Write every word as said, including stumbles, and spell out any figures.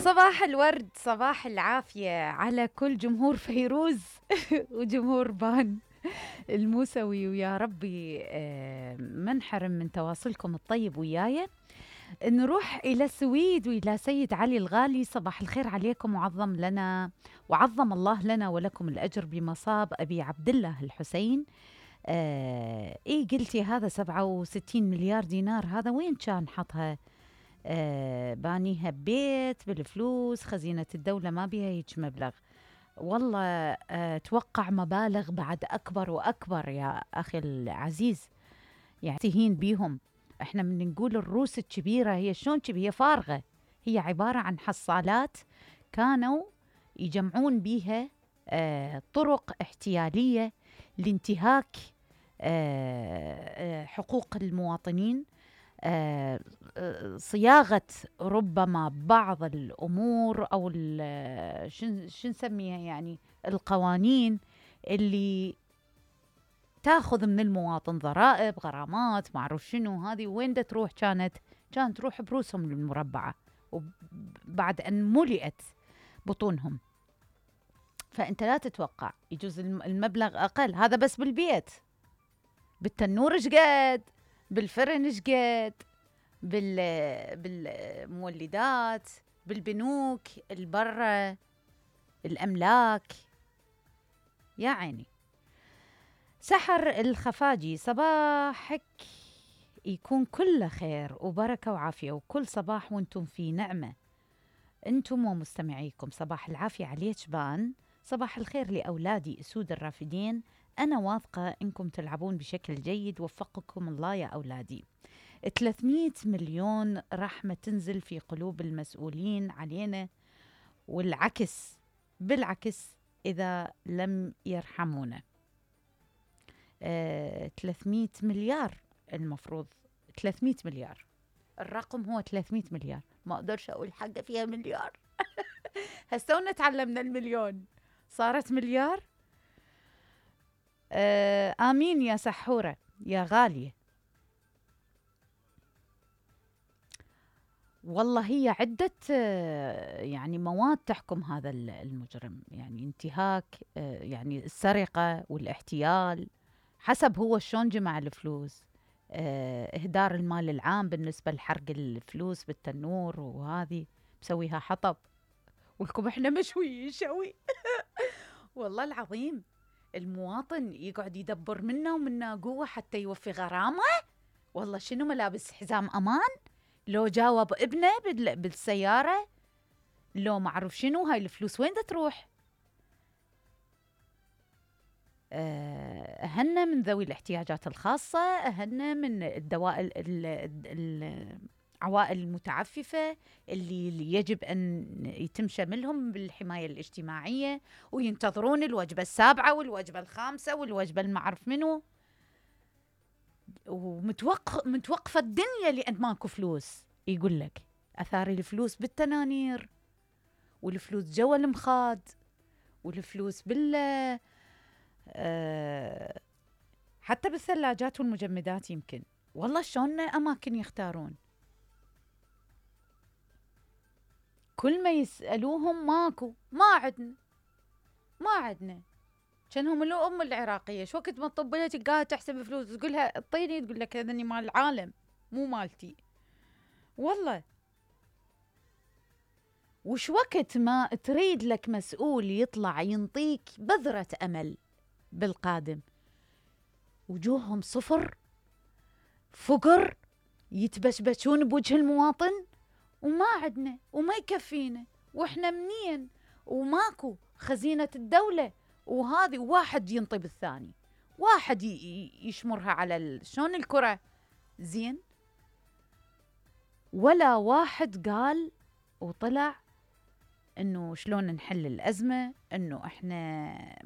صباح الورد، صباح العافية على كل جمهور فيروز وجمهور بان الموسوي، ويا ربي آه، ما نحرم من تواصلكم الطيب وياي. نروح إلى السويد وإلى سيد علي الغالي. صباح الخير عليكم، وعظم لنا وعظم الله لنا ولكم الأجر بمصاب أبي عبد الله الحسين. آه إيه قلتي هذا سبعة وستين مليار دينار، هذا وين كان حطها؟ آه بانيها ببيت بالفلوس، خزينة الدولة ما بيها هيك مبلغ. والله آه توقع مبالغ بعد أكبر وأكبر يا أخي العزيز، يعني تهين بيهم. احنا من نقول الروس الكبيرة، هي شلون كبيرة؟ هي فارغة، هي عبارة عن حصالات كانوا يجمعون بيها آه طرق احتيالية لانتهاك آه آه حقوق المواطنين، آه صياغة ربما بعض الأمور أو شن نسميها، يعني القوانين اللي تاخذ من المواطن ضرائب، غرامات، معروف شنو هذه، وين دا تروح؟ كانت كانت تروح بروسهم المربعة وبعد أن ملئت بطونهم. فأنت لا تتوقع، يجوز المبلغ أقل. هذا بس بالبيت، بالتنور شقد، بالفرن شقد، بال بالمولدات، بالبنوك، البرة، الأملاك. يا عيني. سحر الخفاجي، صباحك يكون كله خير وبركة وعافية، وكل صباح وانتم في نعمة انتم ومستمعيكم. صباح العافية عليك بان، صباح الخير لأولادي أسود الرافدين. أنا واثقة إنكم تلعبون بشكل جيد، وفقكم الله يا أولادي. ثلاثمئة مليون رحمة تنزل في قلوب المسؤولين علينا، والعكس بالعكس إذا لم يرحمونا. آه، ثلاثمئة مليار المفروض، ثلاثمئة مليار الرقم هو ثلاثمئة مليار، ما أقدرش أقول حاجة فيها مليار. هستونا تعلمنا المليون صارت مليار. آه، آمين يا سحورة يا غالية. والله هي عدة يعني مواد تحكم هذا المجرم، يعني انتهاك، يعني السرقة والاحتيال، حسب هو شلون جمع الفلوس، إهدار المال العام بالنسبة لحرق الفلوس بالتنور، وهذه مسويها حطب ولكم احنا مشوي شوي. والله العظيم المواطن يقعد يدبر منا ومنا قوة حتى يوفي غرامة. والله شنو ملابس حزام أمان، لو جاوب ابنه بالسيارة، لو معروف شنو، هاي الفلوس وين دا تروح؟ أهلنا من ذوي الاحتياجات الخاصة، أهلنا من الدوائر العوائل المتعففة اللي يجب أن يتم شملهم بالحماية الاجتماعية، وينتظرون الوجبة السابعة والوجبة الخامسة والوجبة المعرف منه، ومتوقف متوقفة الدنيا لأن ماكو فلوس. يقول لك أثار الفلوس بالتنانير، والفلوس جوا المخاد، والفلوس بال أه حتى بالثلاجات والمجمدات يمكن. والله شلون أماكن يختارون، كل ما يسألوهم ماكو، ما عدنا ما عدنا. كانهم لو أم العراقية شو وقت ما تطبلها تلقاها تحسب فلوس، تقولها اعطيني، تقول لك هذني مال العالم مو مالتي. والله وش وقت ما تريد لك مسؤول يطلع ينطيك بذرة أمل بالقادم، وجوههم صفر، فقر، يتبشبشون بوجه المواطن، وما عدنا وما يكفينا، وإحنا منين وماكو خزينة الدولة، وهذه واحد ينطي بالثاني، واحد يشمرها على شلون الكرة زين، ولا واحد قال وطلع إنه شلون نحل الأزمة، إنه إحنا